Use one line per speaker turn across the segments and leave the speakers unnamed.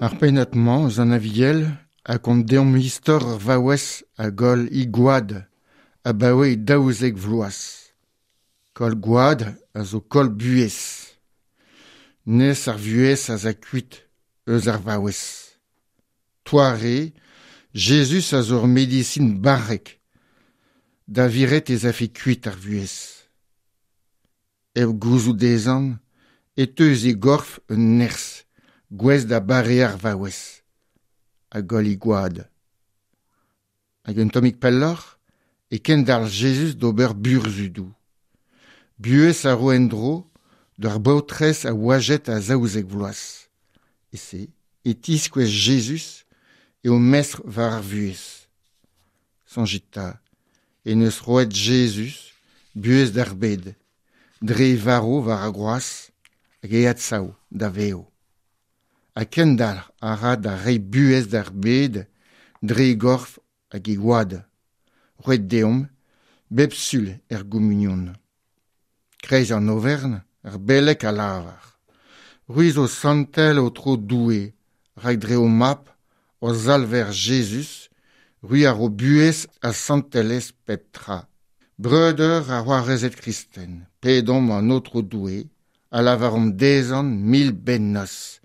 Ar pennad-mañ eus an Aviel a gont deomp istor ur vaouez a goll he gwad abaoe 12 vloaz. Koll gwad a zo koll buhez. Nes ar vuhez a za kuit eus ar vaouez. Toare, Jezuz a zo ur medisin barrek da viret ez afe kuit ar vuhez. Hep gouzout dezhañ e teu eus e gorf un nerzh gouest da bareañ ar vaouez a goll he gwad. Hag un tammig pelloc'h e kendalc'h Jezuz d'ober burzhudoù. Buhez a ro en-dro d'ur baotrez a oajet a 12 vloaz. E-se e tiskouez Jezuz eo mestr war ar vuhez. Soñjit 'ta en deus roet Jezuz buhez d'ar bed dre e varv war ar groaz hag e adsav da vev. Ha kendalc'h a ra da reiñ buhez d'ar bed dre e gorf hag e gwad, roet deomp bep sul er gomunion. Kreiz an overn, ar beleg a lavar C'hwi zo santel Aotrou Doue, rak dre ho Mab, hor Salver Jezuz, c'hwi a ro buhez ha santelezh pep tra. Breudeur ha c'hoarezed kristen, pedomp an Aotrou Doue ha lavaromp dezhañ mil bennozh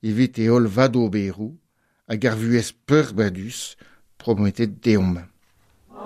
evit e holl vadoberoù hag ar vuhez peurbadus prometet deomp.